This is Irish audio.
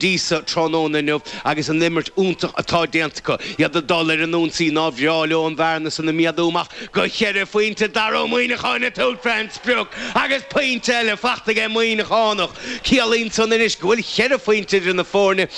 Dtí sa tráthnóna inniu agus an imirt iontach atá déanta acu, iad ag dul ar an ionsaí, nár bhreá leo an bhearna san a mhéadú amach go cheithre phointe. Dara Ó Muíneacháin ag tabhairt fén sprioc agus pointe eile faighte ag an Muíneachánach. Ciallaíonn san anois go bhfuil cheithre phointe idir na foirne.